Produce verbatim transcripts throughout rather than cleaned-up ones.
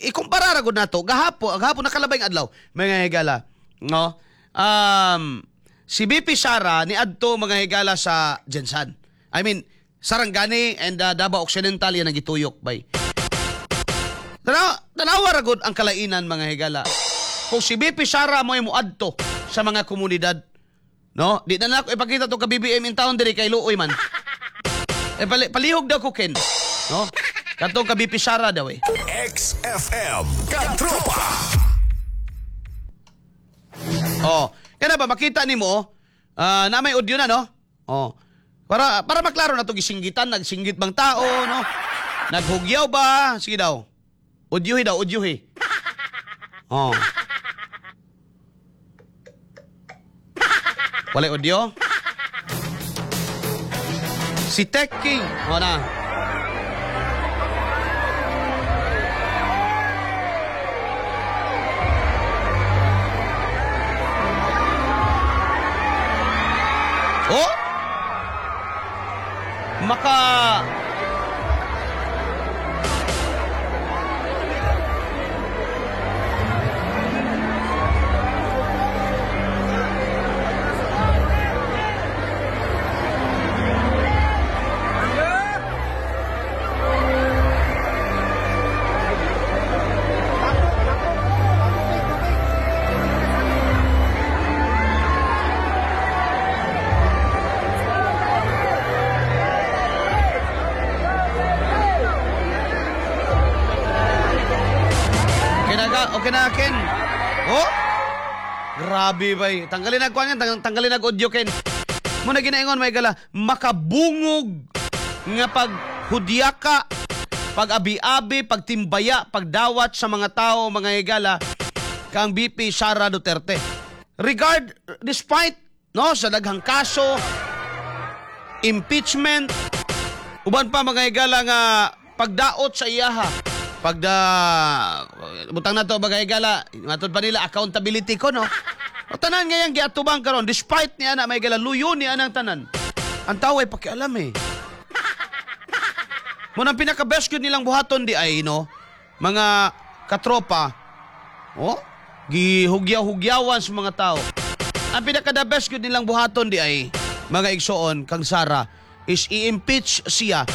ikumpara ra gud nato gahapon, gahapon nakalabay ang adlaw, mga higala, no? Um si V P Sara ni adto, mga higala, sa GenSan. I mean, Sarangani and uh, Davao Occidental yan ang gituyok bay. Tanaw, tanawa ra gud ang kalainan, mga higala. Kung si V P Sara mo ay muadto sa mga komunidad, no? Di na nako ipakita to ka B B M in town diri kay luoy man. Eh pali, palihog daw ko, Ken. No? Katong ka V P Sara daw eh. X F M Katropa. Oh, kana ba makita nimo ah, na may audio na, no? Oh. Para para maklaro na to, gisinggitan, nagsinggit bang tao, no? Naghugyaw ba? Sige daw. Audiohi daw, audiohi. Oh. Wala audio? Si Tech King. Oh na. Oh? Maka Okay na ka, okay na, Ken. Oh? Grabe bay. Tanggalin na kuan yan, tang tanggalin na audio, Ken. Mo na ginaingon, may gala, makabungog nga pag hudyaka, pag abi-abi, pagtimbaya, pagdawat sa mga tao, mga higala, kang V P Sara Duterte. Regard, despite, no, sa daghang kaso, impeachment, uban pa, mga higala, nga pagdaot sa iyaha, pagda butang na to, mga higala, matod pa nila accountability ko, no? O tanan ngayang giatubang karon, despite niya na may gala, luyo ni anang tanan. Ang tao ay pakialam eh. Mo nang pinaka best gyud nilang buhaton di ay, no, mga katropa, oh, gihugyaw-hugyawan sa mga tao. Ang pinaka the best gyud nilang buhaton di ay, mga igsoon, kang Sara is i-impeach siya.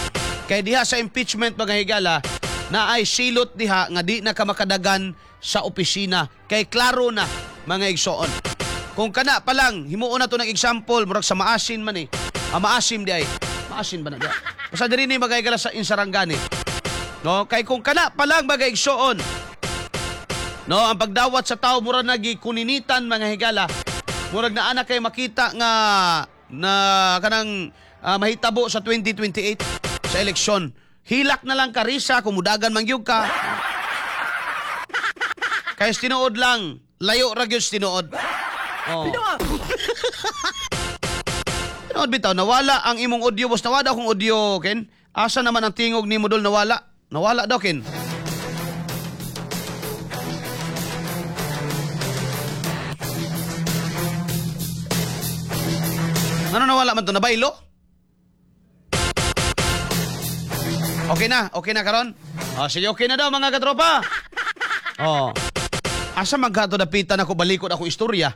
Kay diha sa impeachment, mga higala, na ay silot diha nga di na ka makadagan sa opisina. Kay klaro na, mga igsoon. Kung kana pa lang, himuon na to ng example, murag sa Maasin man eh. Ah, Maasim di ay. Maasin ba na diha? Basta diri ni, mga higala, sa Insarangani. No, kay kung kana pa lang, mga igsoon, no, ang pagdawat sa tao mura nagikuninitan, mga higala. Murag na ana kay makita nga na kanang ah, mahitabo sa twenty twenty-eight sa eleksyon. Hilak na lang karisa kung mudagan man gyud ka. Kay tinuod lang, layo ra gyud sa tinuod. Oh. Tinuod bitaw, nawala ang imong audio, boss. Nawala akong audio, Ken. Asa naman ang tingog ni Modol, nawala? Nawala daw, Ken. Ano, nawala man to? Nabaylo? Okay na, okay na karon? Oh, sige, okay na daw, mga katropa. Oh. Asa man ka to dapitan ako, balikod ako istorya.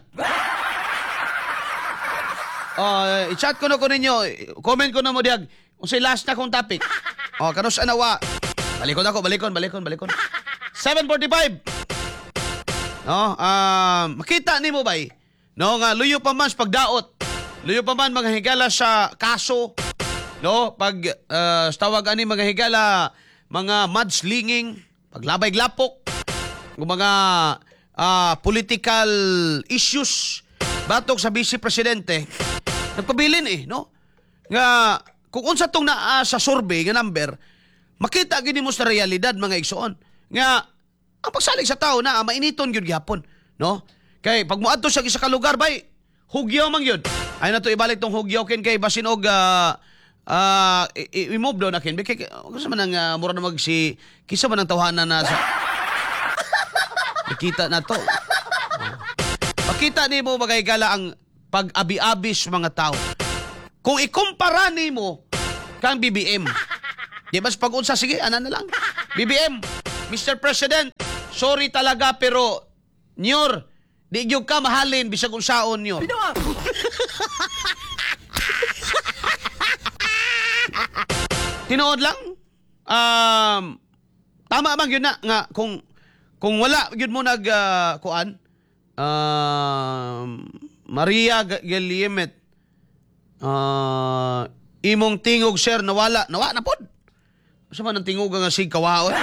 Oh, i-chat ko na ko ninyo. Comment ko na mo diag. Unsay last na kong topic. Oh, kanus anawa. Balikon ako, balikon, balikon, balikon. seven forty-five. No, um, makita nimo bay. No, nga luyo pa man sa pagdaot. Luyo pa man, mga higala, sa kaso. No, pag uh, tawag ani, mga higala, mga mudslinging, paglabay glapok, ng mga ah, political issues batok sa vice presidente, nagpabilin eh, no? Nga kung unsa tong naa sa survey nga number, makita gid mo sa realidad, mga igsoon, nga ang pagsalig sa tao na mainiton gyud gihapon, no? Kay pag moadto sa isa ka lugar bay, hugyaw man gyud. Ay na to ibalik tong hugyaw, Ken, kay basin og ah, ah, i- i- i-move daw na, Ken. Kay kisa man ang uh, mura na mag si kisa man ang tawhana na sa nakita na to. Oh. Makita nimo, mga higala, ang pag-abi-abi sa mga tao. Kung ikumpara nimo kang B B M. Di ba sa pag-unsa, sige, ana na lang. B B M, Mister President, Sorry talaga pero Nyor, di gyud ka mahalin bisag unsaon nyor. Tinuod lang. Um, tama man gyud na nga kung kung wala gyud mo nag uh, kuan um, Maria Giliemet, uh, imong tingog sir nawala, nawa na pod. Sa man ang tingog nga sig kawaon.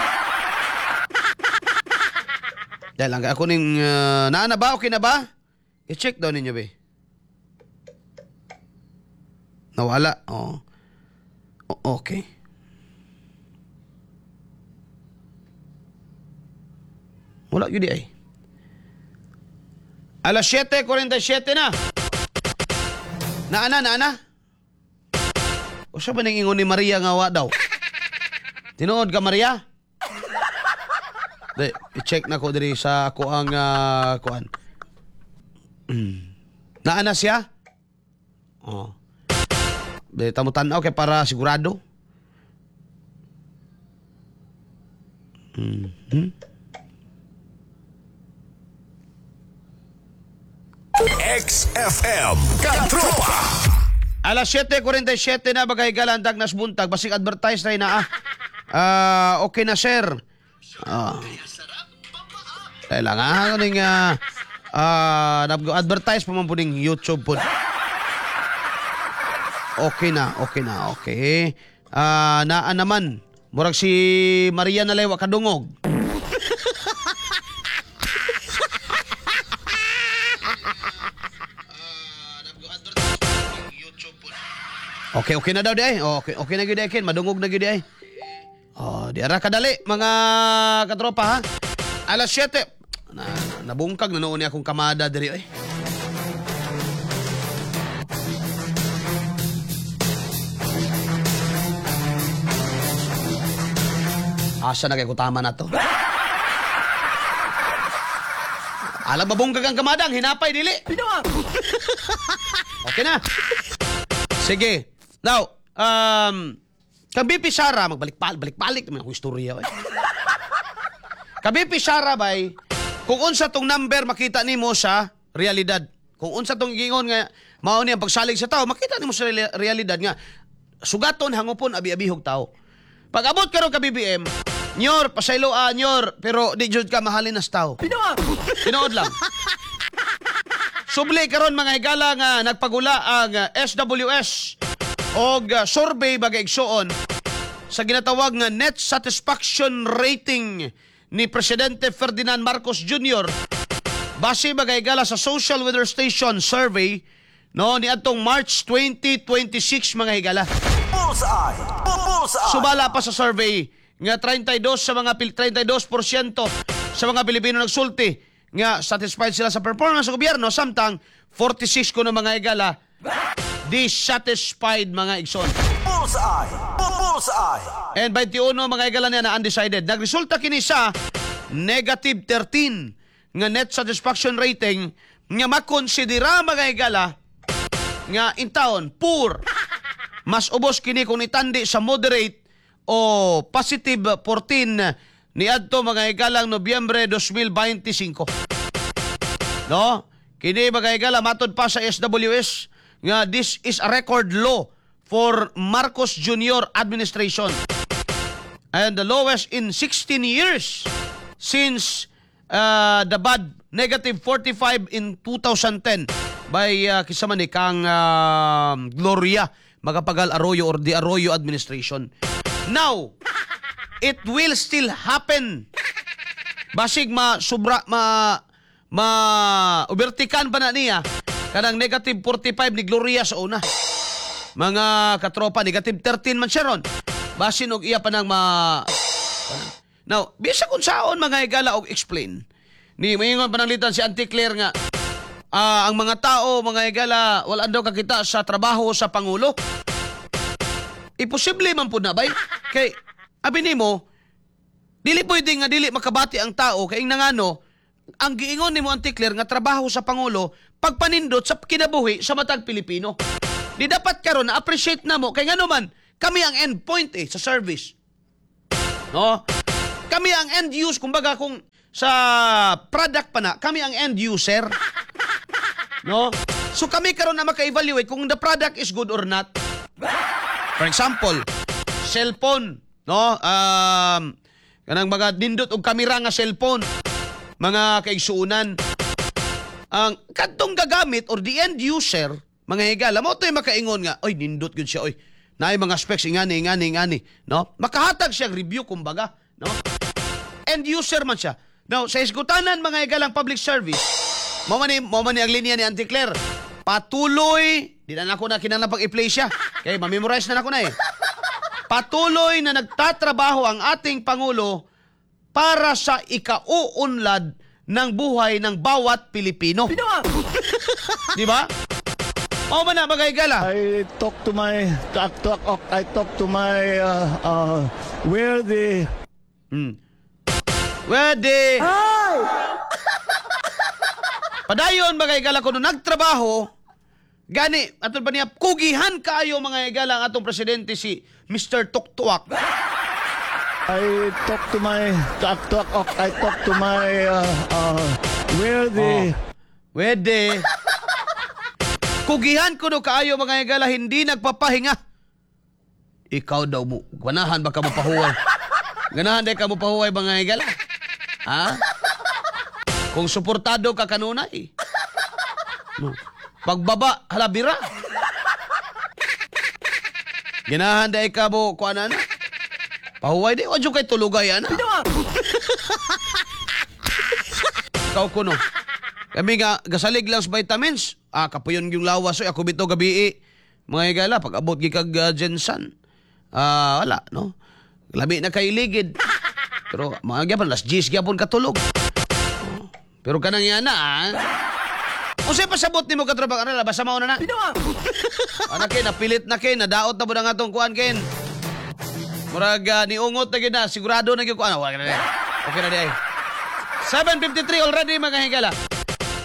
Dahil lang ako ning uh, naa na ba, okay na ba? I-check daw ninyo be. Nawala. Oh. O- okay. Wala yun di ay. Alas siyete kuwarenta y siyete na. Naana, naana. O siya ba ning ingon ni Maria nga wa daw? Tinuod ka, Maria? Di, i-check na ko diri sa ako ang uh, kuan. Mm. Naana siya? Oh. Di, tamo tan-aw kay para sigurado. Mhm. X F M Katropa. Alas siyete kuwarenta y siyete na, bagay galandag nas buntag basig advertise na ah. Ah, okay na sir. Ah. Dahil lang ah, ning ah ah, advertise pa man po ning YouTube po. Okay na, okay na, okay. Ah, naa naman. Murag si Maria na wa kadungog. Okay, okay na daw di ay. Okay, okay na gyud ay Ken, madungog na gyud di ay. Oh, di ara kadali mga katropa ha. Alas siyete. Na, nabungkag na noon ni akong kamada diri oy. Asa na kay kutama na to? Alam mabungkag ang kamadang, hinapay dili. Okay na. Sige. Now, um, kang V P Sara, magbalik-balik, balik-balik naman akong istorya. Eh. Kang V P Sara bay, kung unsa tong number makita nimo sa realidad. Kung unsa tong giingon nga mao ni ang pagsalig sa tao, makita nimo sa reali- realidad nga sugaton, hangupon, abi-abihog tao. Pag abot karon ka B B M, nyor, pasayloa, nyor, pero di jud ka mahalin nas tao. Tinuod lang. Subli karon mga higala nga nagpagula ang uh, S W S og uh, survey bagay igsuon sa ginatawag nga net satisfaction rating ni Presidente Ferdinand Marcos Junior Base bagay higala sa Social Weather Station survey no niadtong March twenty twenty-six, mga higala. Bullseye! Bullseye! Sumala pa sa survey nga trenta'y dos sa mga Pil- trenta'y dos porsyento sa mga Pilipino nagsulti nga satisfied sila sa performance sa gobyerno, samtang forty-six kuno mga higala dissatisfied, mga igsoon. Bullseye! Bullseye! And twenty-one mga higala niya na undecided. Nagresulta kini sa negative thirteen nga net satisfaction rating nga makonsidera mga higala nga in taon poor. Mas ubos kini kung itandi sa moderate o positive fourteen niadto mga higalang Nobyembre dalawang libo bente singko. No? Kini mga higala matod pa sa S W S nga this is a record low for Marcos Junior administration and the lowest in sixteen years since uh, the bad negative forty-five in twenty ten by uh, kinsa man ni kang uh, Gloria Macapagal Arroyo or the Arroyo administration. Now, it will still happen. Basig ma sobra ma ma ubertikan pa na niya kanang negative forty-five ni Gloria sa una. Mga katropa, negative thirteen man siya ron. Basin og iya pa nang ma Now, bisa kung saon mga higala og explain. Ni maingon pananglitan si Auntie Claire nga ah, ang mga tao, mga higala, wala daw kakita sa trabaho sa pangulo. Imposible man pud na bay. Kay abi nimo dili pwede nga dili makabati ang tao kay nangano ang giingon nimo, Auntie Claire, nga trabaho sa pangulo pagpanindot sa kinabuhi sa matag Pilipino. Di dapat karon na appreciate na mo kay ngano man kami ang endpoint eh sa service. No? Kami ang end use, kumbaga kung sa product pa na, kami ang end user. No? So kami karon na maka-evaluate kung the product is good or not. For example, cellphone, no? Um, kanang mga nindot og kamera nga cellphone, mga kaigsuonan. Ang kadtong gagamit or the end user, mga higala, mao to'y makaingon nga, oy, nindot gyud siya, oy. Naay mga specs ingani, ingani, ingani, no? Makahatag siya review kumbaga, no? End user man siya. Now, sa isgutanan mga higalang public service, mao man ni mao man ni ang linya ni Auntie Claire. Patuloy, di na nako na kinahanglan pag i-play siya. Kay ma-memorize na nako na eh. Patuloy na nagtatrabaho ang ating Pangulo para sa ikauunlad ng buhay ng bawat Pilipino. Di ba? Mao man na mga higala. I talk to my talk, talk, I talk to my uh, uh, where the Hmm. Pwede. Padayon mga higala kuno nagtrabaho gani atol pa niya kugihan kaayo mga higala ang atong presidente si Mister Tuktuak. I talk to my talk, talk, I talk to my uh, uh, where the Pwede. Kugihan kuno kaayo mga higala hindi nagpapahinga. Ikaw daw mo ganahan ba ka mo pahuway? Ganahan day ka mo pahuway mga higala? Ha? Kung suportado ka kanunay. No. Pagbaba, halabira. Ganahan day ka mo kuan na. Pahuway di, wadyo kay tulugay ana. Ikaw kuno. Kami nga gasalig lang sa vitamins. Ah, kapuyon yung lawas oy ako bitaw gabi. Mga higala pag abot gikag uh, Jensen. Ah, wala no. Labi na kay ligid. Pero mga gyapon las diyes gyapon katulog. Oh. Pero kanang yana ah. Unsay pasabot nimo katropa ano basta mao na na. Ana kay napilit na kay nadaot na pud ang atong kuan ken. Murag uh, niungot na gyud na sigurado na gyud kuan. Wala na. Okay na di ay. seven fifty-three already mga higala.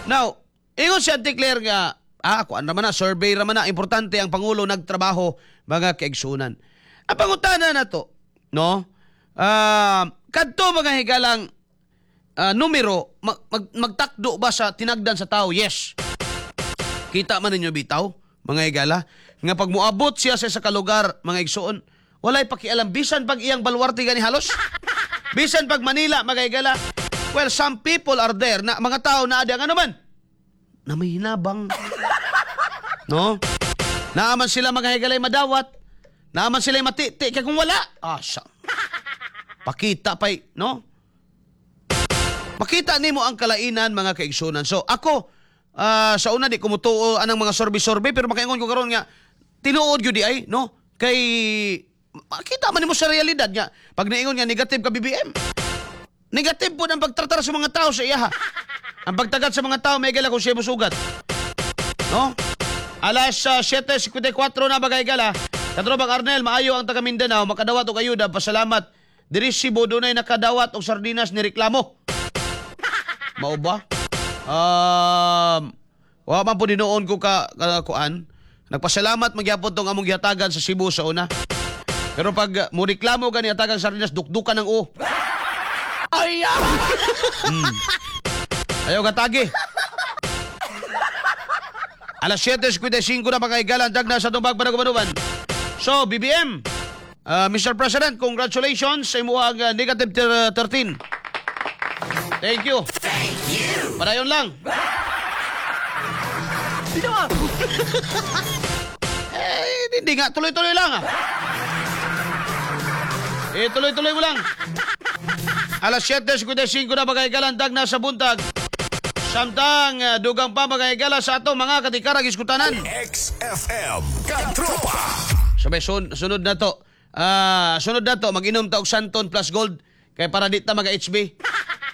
Now, ingon si Auntie Claire nga, ah, kuan naman na, survey raman na, importante ang Pangulo nagtrabaho, mga kaigsunan. Ang pangutana na to, no? Uh, kadto mga higalang uh, numero, mag, mag, magtakdo ba sa tinagdan sa tao? Yes. Kita man ninyo bitaw, mga higala, nga pag muabot siya sa isa ka lugar, mga igsuon, walay pakialam, bisan pag iyang baluarte gani halos, bisan pag Manila, mga higala, well, some people are there na mga tao na adi ang ano man, na may hinabang. No? Naaman sila mga higalay madawat. Naaman sila matiti. Kaya kung wala, ah, siya. Pakita pa'y, no? Makita nimo ang kalainan mga kaigsunan. So, ako, uh, sa una di kumutuo anang mga survey-survey, pero makaingon ko karon nga, tinuod yun di ay, no? Kay, makita man nimo sa realidad nga, pag naingon nga negative ka B B M, negative po ang pagtratar sa mga tao sa iyaha. Ang pagtagat sa mga tao, may gala kung siya musugat. No? Alas uh, siyete singkwenta y kwatro na bagay gala. Katrobang Arnel, maayo ang taga Mindanao, makadawat og ayuda, pasalamat. Diri Cebu dunay nakadawat og sardinas ni reklamo. Mao ba? Um, wa man po dinoon ko ka, ka kuan. Nagpasalamat magyapon tong among gihatagan sa Cebu sa una. Pero pag uh, mo reklamo gani hatagan sardinas, dukdukan ng o. Ayaw! Hmm. Ayaw katagi. Alas siyete singkwenta y singko na mga higala, ang dagna sa tumbag panagubanuban. So, B B M, uh, Mister President, congratulations sa imuhang uh, negative thirteen. Thank you. Thank you. Padayon lang. Eh, hindi nga. Tuloy-tuloy lang ah. Eh, tuloy-tuloy mo lang. Alas siyete singkwenta y singko na mga higala, ang dagna sa buntag. Samtang uh, dugang pa mga higala sa ato mga katikarag iskutanan. X F M Katropa. Sabay sun, sunod na to. Uh, sunod na to mag-inom ta og Santon Plus Gold kay para di ta maga H B.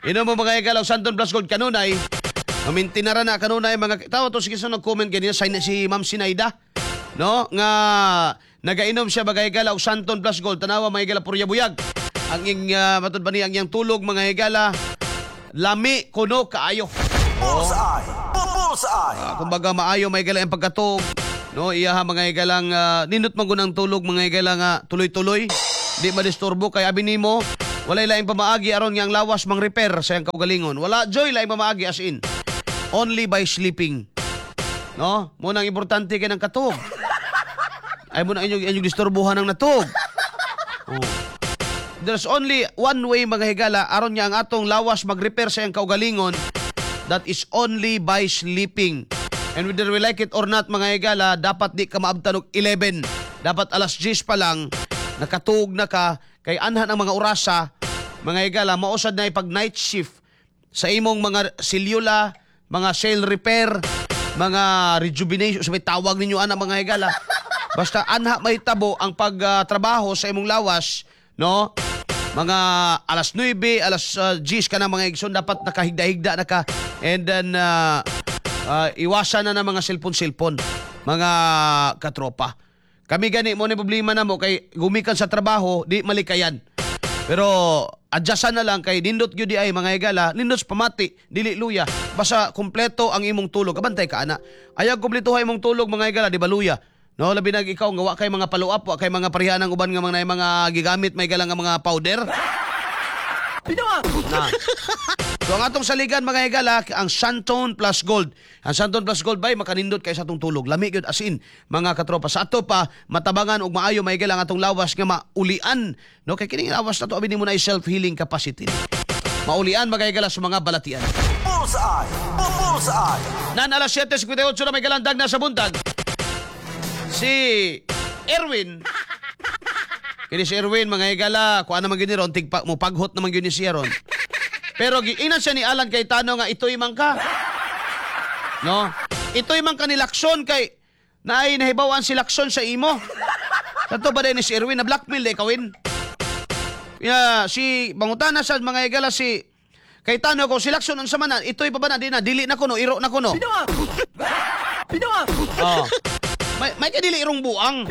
Inom mo mga higala og Santon Plus Gold kanunay. Mamintinara na kanunay mga tawo to sige sa nag-comment ganina si, si Ma'am Sinaida. No, nga nagainom siya mga higala og Santon Plus Gold. Tanawa mga higala purya buyag. Ang ing uh, matud ba niya ang iyang tulog mga higala lami kuno kaayo. Bullseye! Bullseye! Uh, kumbaga maayo may higala ang pagkatog. No, iyaha mga higalang uh, nindot man gunang tulog mga higala nga tuloy-tuloy. Di madisturbo kay abi nimo Walay laing pamaagi aron nga ang lawas mang repair sa iyang kaugalingon. Wala juy laing pamaagi, as in. Only by sleeping. No? Mao nang importante kay ng katog. Ay mo na inyong inyong disturbuhan ng natog. Oh. There's only one way, mga higala, aron nga ang atong lawas mag-repair sa iyang kaugalingon. That is only by sleeping. And whether we like it or not, mga higala, dapat di ka maabtan og eleven. Dapat alas diyes pa lang, nakatuog na ka, kay anhan ang mga orasa, mga higala, mao sad na ipag night shift sa imong mga selula, mga cell repair, mga rejuvenation, sabi tawag ninyo ana, mga higala. Basta anha may tabo ang pagtrabaho sa imong lawas, no? Mga alas nuwebe, alas uh, diyes ka na, mga igsoon, dapat nakahigda-higda na ka. And then, uh, uh, iwasan na ng mga cellphone-cellphone, mga katropa. Kami gani mo ni problema na mo kay gumikan sa trabaho, di malikayan. Pero adjustan na lang kay nindot gyud di ay, mga higala, nindot sa pamati, dili luya. Basta kumpleto ang imong tulog, kabantay ka ana. Ayaw kumpleto imong tulog, mga higala, di ba luya? No, labi nag ikaw nga wa kay mga follow up, wa kay mga pareha ng uban nga mga mga gigamit may galang nga mga powder. Na. So ang atong saligan, mga higala, ang Xanthone Plus Gold. Ang Xanthone Plus Gold bay makanindot kay sa atong tulog. Lami gyud, as in, mga katropa. Sa ato pa matabangan og maayo may ang atong lawas nga maulian. No, kay kining lawas na to abi nimo na self-healing capacity. Maulian, mga higala, sa mga balatian. Bullseye! Bullseye! Nan alas siyete singkwenta y otso na may galandag na sa buntag. Si Erwin. Kini si Erwin, mga higala, kuan naman gyud ni ron, tigpa, mo paghot naman gyud ni siya ron. Pero giinan siya ni Alan Cayetano nga ito'y man ka. No? Ito'y man ka ni Lacson kay naay nahibawan si Lacson sa imo. Kato ba din ni si Erwin na blackmail di kawin? Ya, si bangutana sa mga higala si Cayetano kung si Lacson unsa man na, ito'y pa ba na di na dili na kuno, iro na kuno. Oh. May may kadili irong buang.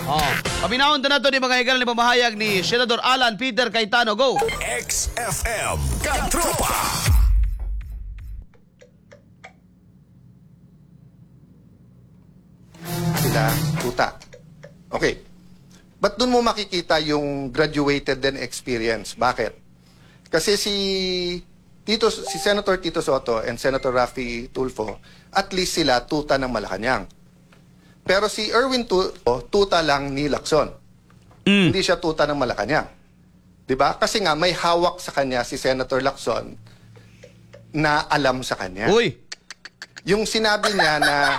Oh. Paminawon to na to ni mga higala ni pamahayag ni Senador Alan Peter Cayetano. Go. X F M Katropa. Sila tuta. Okay. But doon mo makikita yung graduated then experience? Bakit? Kasi si Tito si Senator Tito Sotto and Senator Raffy Tulfo, at least sila tuta ng Malacanang. Pero si Erwin Tulfo, tuta lang ni Lacson. Hindi siya tuta ng Malacanang. 'Di ba? Kasi nga may hawak sa kanya si Senator Lacson na alam sa kanya. Uy. Yung sinabi niya na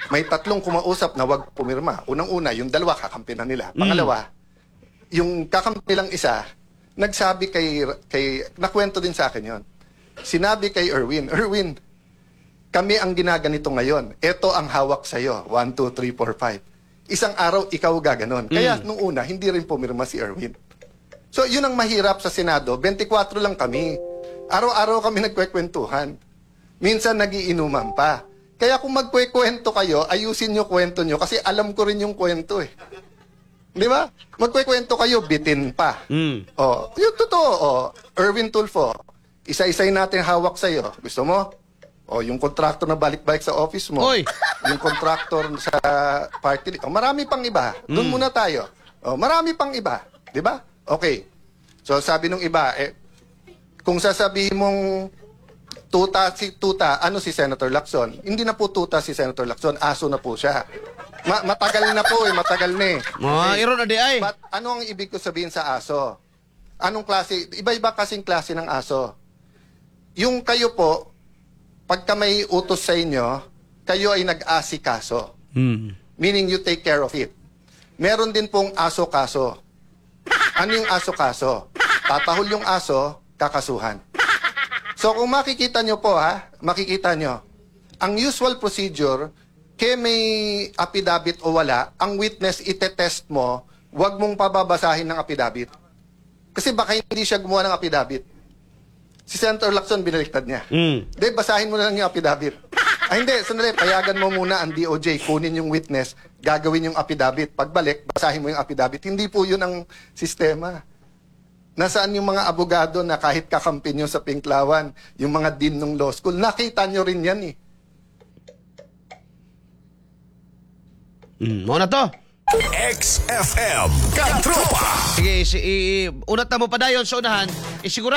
may tatlong kumausap na wag pumirma. Unang-una, yung dalawa kakampi na nila. Pangalawa, yung kakampi lang isa, nagsabi kay, kay, nakwento din sa akin yon. Sinabi kay Erwin, "Erwin, kami ang ginaganito ngayon. Ito ang hawak sa'yo. one, two, three, four, five. Isang araw, ikaw gaganon." Kaya nung una, hindi rin pumirma si Erwin. So, yun ang mahirap sa Senado. twenty-four lang kami. Araw-araw kami nagkwekwentuhan. Minsan nagiinuman pa. Kaya kung magkwekwento kayo, ayusin nyo kwento nyo kasi alam ko rin yung kwento eh. Di ba? Magkwekwento kayo, bitin pa. Mm. Oh, yung totoo, oh, Erwin Tulfo, isa-isay natin hawak sa'yo. Gusto mo? Oh, yung contractor na balik-balik sa office mo. Oy. Yung contractor sa party. Oh, marami pang iba. Doon muna tayo. Oh, marami pang iba. Di ba? Okay. So sabi nung iba, eh, kung sasabihin mong tuta si tuta, ano si Senator Lacson? Hindi na po tuta si Senator Lacson, aso na po siya. Ma- matagal na po eh, matagal na eh. Mga iro na di ay. But ano ang ibig ko sabihin sa aso? Anong klase? Iba-iba kasing klase ng aso. Yung kayo po, pagka may utos sa inyo, kayo ay nag-asikaso. Mm. Meaning you take care of it. Meron din pong aso-kaso. Ano yung aso-kaso? Tatahol yung aso, kakasuhan. So kung makikita nyo po ha, makikita nyo, ang usual procedure, ke may affidavit o wala, ang witness itetest mo, wag mong pababasahin ng affidavit. Kasi baka hindi siya gumawa ng affidavit. Si Senator Lacson, binaliktad niya. Mm. Hindi, basahin mo na lang yung affidavit. Ay hindi, sandali, payagan mo muna ang D O J, kunin yung witness, gagawin yung affidavit. Pagbalik, basahin mo yung affidavit. Hindi po yun ang sistema. Nasaan yung mga abogado na kahit kakampi nyo sa Pinklawan, yung mga dean ng law school, nakita nyo rin yan eh. Mm. Mao na to. X F M Katropa. Sige, si, i, i, unat na mo padayon sa unahan. Isigurado